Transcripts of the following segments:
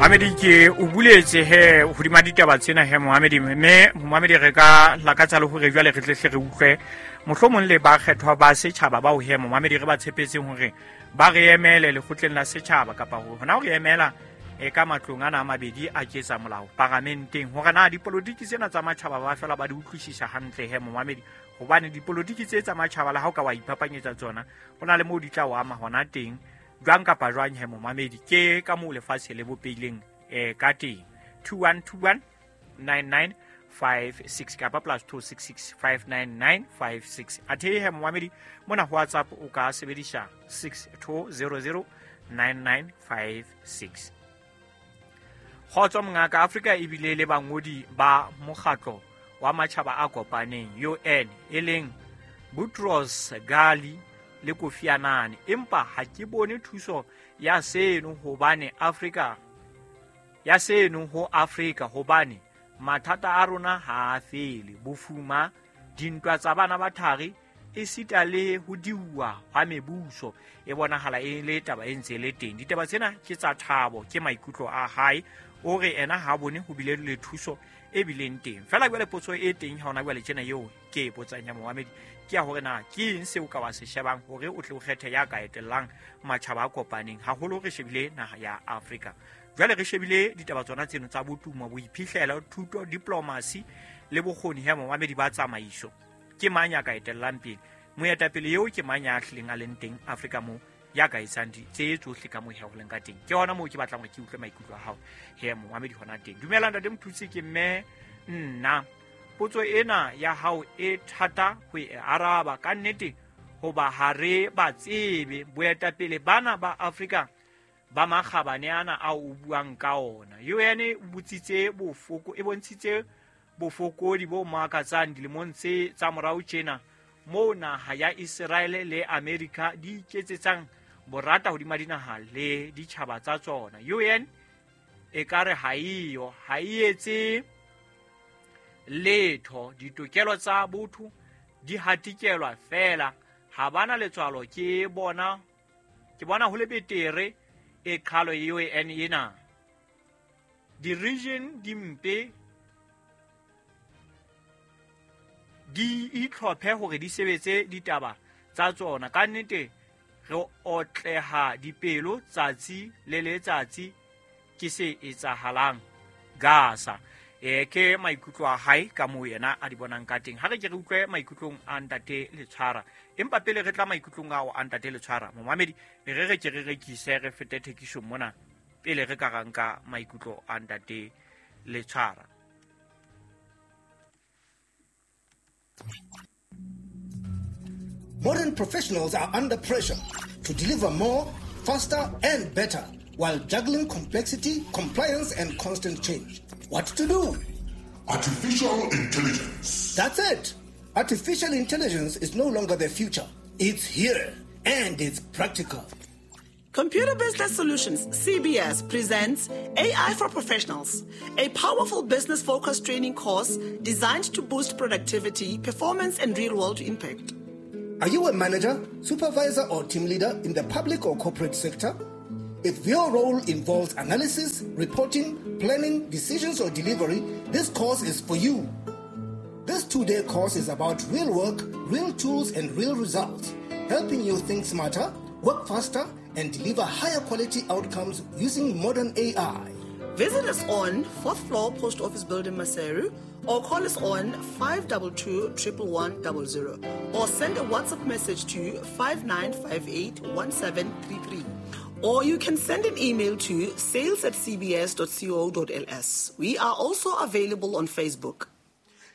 Mohamedi, ke o buletse he hodima ditaba tsena he Mohamedi, mme Mohamedi re ka lakatsa le hore jwale re tle hle re utlwe mohlomong le bakgethwa ba setjhaba bao he Mohamedi re ba tshepetseng hore ba re emele lekgotleng la setjhaba kapa hona ho re emela e ka matlong ana a mabedi a ketsa molao paramenteng, hore na dipolotiki tsena tsa matjhaba ba fela ba di utlwisisa hantle he Mohamedi, hobane dipolotiki tse tsa matjhaba le ha o ka wa iphapanyetsa tsona ho na le moo di tla o ama hona teng jwang kapa jwang he momamedi. Ke ka moo lefatshe le bopehileng ka teng. 2121 9956 kapa plus 266 59956. Athe he momamedi mona ho WhatsApp o ka sebedisa 6200 9956. Kgotso mongaka, Afrika ebile le bangodi ba mokgatlo wa matjhaba a kopaneng UN e leng Boutros Ghali le Kofi Annan, empa ha ke bone thuso ya seno hobane Afrika ya seno ho Afrika, hobane mathata a rona ha a fele, bofuma, dintwa tsa bana ba thari, esita le ho diuwa hwa mebuso e bonahala e le taba e ntse le teng. Ditaba tsena ke tsa thabo, ke maikutlo a hae, o re ena ha bone ho bile le thuso e bileng teng. Fela jwale potso e teng ha hona jwale tjena eo ke e botsang ya momamedi ke ya hore na ke eng seo ka wa se shebang hore o tle o kgethe ya ka etellang matjhaba a kopaneng, haholo re shebile naha ya Afrika. Jwale re shebile ditaba tsona tseno tsa botumo, boiphihlelo, thuto, diplomasi le bokgoni ya momamedi ba tsamaiso. Ke mang ya ka etellang pele? Moetapele eo ke mang ya hlileng a leng teng Afrika moo ya ka etsang tse tsohle ka moo he ho leng ka teng? Ke hona moo ke batlang hore ke utlwe maikutlo a hao he momamedi hona teng. Dumela ntate Mothusi, ke mme nna. Potso ena ya hao e thata ho e araba ka nnete, hoba ha re ba tsebe boetapele bana ba Afrika ba makgabane ana ao o buang ka ona. UN e botsitse bofoko, e bontshitse bofokodi bo makatsang dilemong tse tsa morao tjena, moo naha ya Israel le America di iketsetsang borata hodima dinaha le ditjhaba tsa tsona. UN e ka re ha eyo, ha e etse letho, ditokelo tsa botho di hatikelwa fela, ha bana letswalo. Ke bona ho le betere e qhalo UN ena. Di-region di mpe di itlhophe hore di sebetse ditaba tsa tsona. Ka nnete re otleha dipelo tsatsi le letsatsi ke se etsahalang Gaza. Ke maikutlo a hae ka moo yena a di bonang ka teng. Ha re ke re utlwe maikutlong a ntate Letshwara, empa pele re tla maikutlong ao a ntate Letshwara, momamedi re re ke re rekise re fete thekisong mona pele re ka ranka maikutlo a ntate Letshwara. Modern professionals are under pressure to deliver more, faster, and better while juggling complexity, compliance, and constant change. What to do? Artificial intelligence. That's it. Artificial intelligence is no longer the future. It's here, and it's practical. Computer Business Solutions, CBS, presents AI for Professionals, a powerful business-focused training course designed to boost productivity, performance, and real-world impact. Are you a manager, supervisor, or team leader in the public or corporate sector? If your role involves analysis, reporting, planning, decisions, or delivery, this course is for you. This 2-day course is about real work, real tools, and real results, helping you think smarter, work faster, and deliver higher quality outcomes using modern AI. Visit us on 4th floor Post Office Building, Maseru, or call us on 522 11100, or send a WhatsApp message to 5958 1733. Or you can send an email to sales@cbs.co.ls. We are also available on Facebook.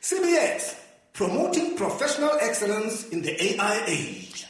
CBS, promoting professional excellence in the AI age.